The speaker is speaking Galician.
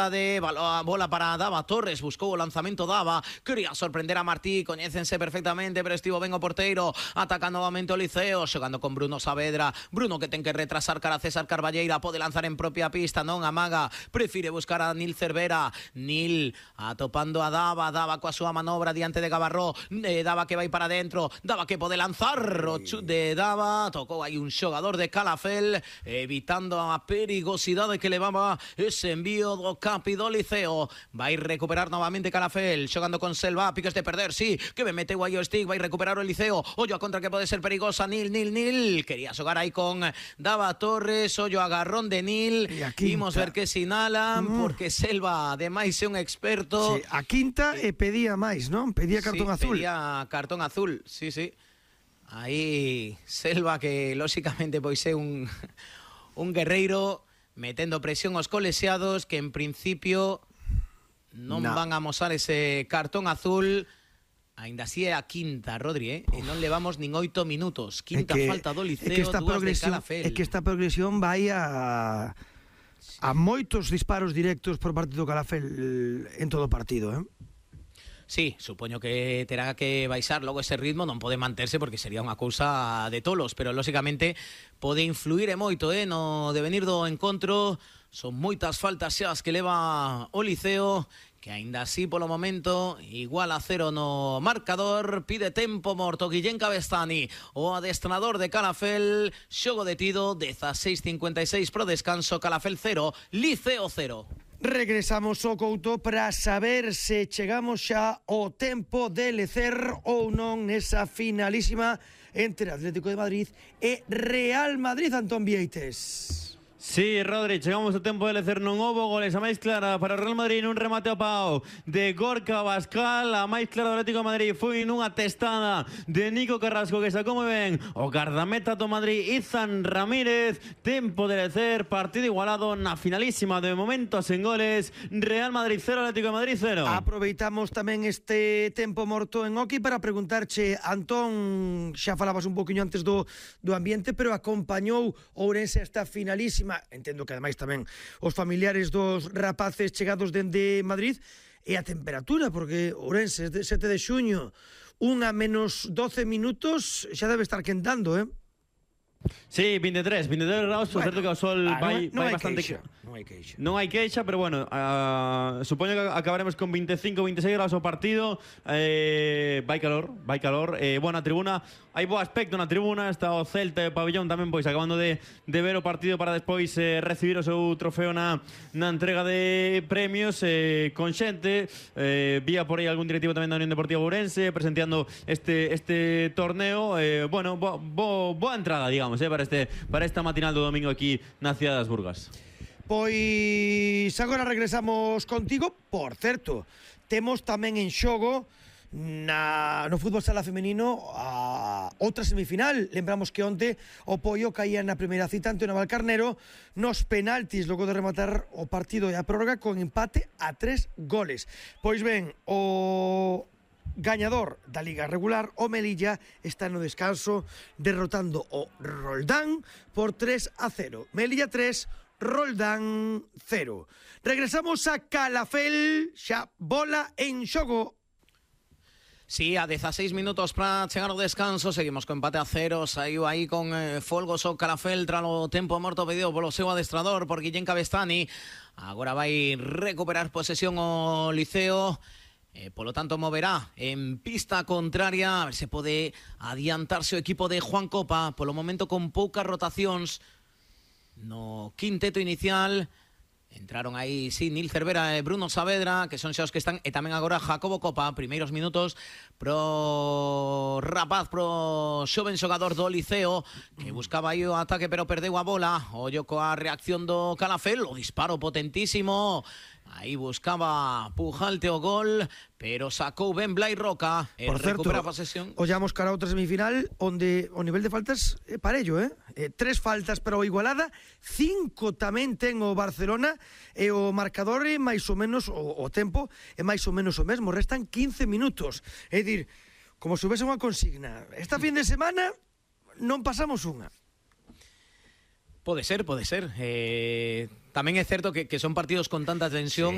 de bola para Dava Torres, buscou o lanzamento Dava, quería sorprender a Martí, coñécense perfectamente, pero estivo ben o porteiro, ataca novamente o Liceo, xogando con Bruno Saavedra, Bruno que ten que retrasar cara a César Carballeira, pode lanzar en propia pista, non amaga, prefire buscar a Nil Cervera, Nil atopando a Dava, Dava coa súa manobra diante de Gabarró, Dava que vai para dentro, Dava que pode lanzar, o chut de Dava, tocou aí un xogador de Calafell, evitando a perigosidade que levaba ese envío do Capi do Liceo. Vai recuperar novamente Calafell, xogando con Selva, piques de perder, sí, que me meteu aí o stick, vai recuperar o Liceo, ollo a contra que pode ser perigosa, Nil, quería xogar aí con Dava Torres, ollo agarrón de Nil, imos ver que sinalan, porque Selva ademais é un experto. Sí, a quinta pedía máis, non? Pedía cartón azul. Pedía cartón azul, sí. Aí Selva que lóxicamente pois é un guerreiro metendo presión aos colexiados que en principio non van a amosar ese cartón azul. Ainda así é a quinta, Rodri, e non levamos nin 8 minutos. Quinta falta do Liceo, dúas de Calafell. É que esta progresión vai a moitos disparos directos por parte do Calafell en todo o partido, Sí, supoño que terá que baixar logo ese ritmo, non pode manterse porque sería unha cousa de tolos, pero lóxicamente pode influir e moito no devenir do encontro. Son moitas faltas xa as que leva o Liceo, que aínda así polo momento igual a 0 no marcador. Pide tempo morto Guillén Cabestany, o adestrador de Calafell. Xogo detido, 16:56 pro descanso. Calafell 0, Liceo 0. Regresamos ao Couto para saber se chegamos xa ao tempo de lecer ou non nesa finalísima entre Atlético de Madrid e Real Madrid, Antón Vieites. Sí, Rodri, chegamos ao tempo de lecer, non houbo goles. A máis clara para o Real Madrid nun remate ao pau de Gorka Abascal. A máis clara do Atlético de Madrid foi nunha testada de Nico Carrasco, que sacou moi ben o gardameta do Madrid, Izan Ramírez. Tempo de lecer, partido igualado na finalísima, de momento sen goles. Real Madrid 0, Atlético de Madrid 0. Aproveitamos tamén este tempo morto en hockey para preguntarche, Antón, xa falabas un poquinho antes do ambiente, pero acompañou Ourense esta finalísima. Entendo que ademais tamén os familiares dos rapaces chegados dende Madrid, e a temperatura, porque Ourense 7 de xuño, 1:-12 minutos, xa debe estar quentando, Sí, 23 graus, por certo que o sol vai bastante... Non hai queixa, pero bueno, supoño que acabaremos con 25-26 graus o partido. Vai calor. Bueno, a tribuna, hai bo aspecto na tribuna. Está o Celta e o Pabellón tamén, pois, acabando de ver o partido para despois recibir o seu trofeo na entrega de premios, con xente. Vía por aí algún directivo tamén da Unión Deportiva Ourense presenteando este torneo. Bueno, boa entrada, digamos, para esta matinal do domingo aquí na cidade das Burgas. Pois agora regresamos contigo. Por certo, temos tamén en xogo no fútbol sala femenino a outra semifinal. Lembramos que onte o Poio caía na primeira cita ante o Navalcarnero nos penaltis, logo de rematar o partido e a prórroga con empate a 3 goles. Pois ben, o gañador da Liga Regular, o Melilla, está no descanso derrotando o Roldán por 3-0. Melilla 3, Roldán 0. Regresamos a Calafell, xa bola en xogo. Sí, a 16 minutos para chegar ao descanso. Seguimos con empate a 0. Saiu aí con folgos o Calafell tras o tempo morto pedido polo seu adestrador, por Guillén Cabestany. Agora vai recuperar posesión o Liceo. Polo tanto moverá en pista contraria, a ver se pode adiantarse o equipo de Juan Copa, polo momento con poucas rotacións no quinteto inicial. Entraron aí, sí, Nil Cervera e Bruno Saavedra, que son xa os que están, e tamén agora Jacobo Copa. Primeiros minutos pro rapaz, pro xoven xogador do Liceo, que buscaba aí o ataque pero perdeu a bola. Ollo coa reacción do Calafell, o disparo potentísimo. Aí buscaba Pujalte o gol, pero sacou ben Blai Roca e recupera a posesión. Ollamos cara a outra semifinal onde o nivel de faltas é parello, 3 faltas para o Igualada, 5 tamén ten o Barcelona, e o marcador é máis ou menos, o tempo é máis ou menos o mesmo, restan 15 minutos. É dicir, como se houvese unha consigna, esta fin de semana non pasamos unha. Pode ser. Tamén é certo que son partidos con tanta tensión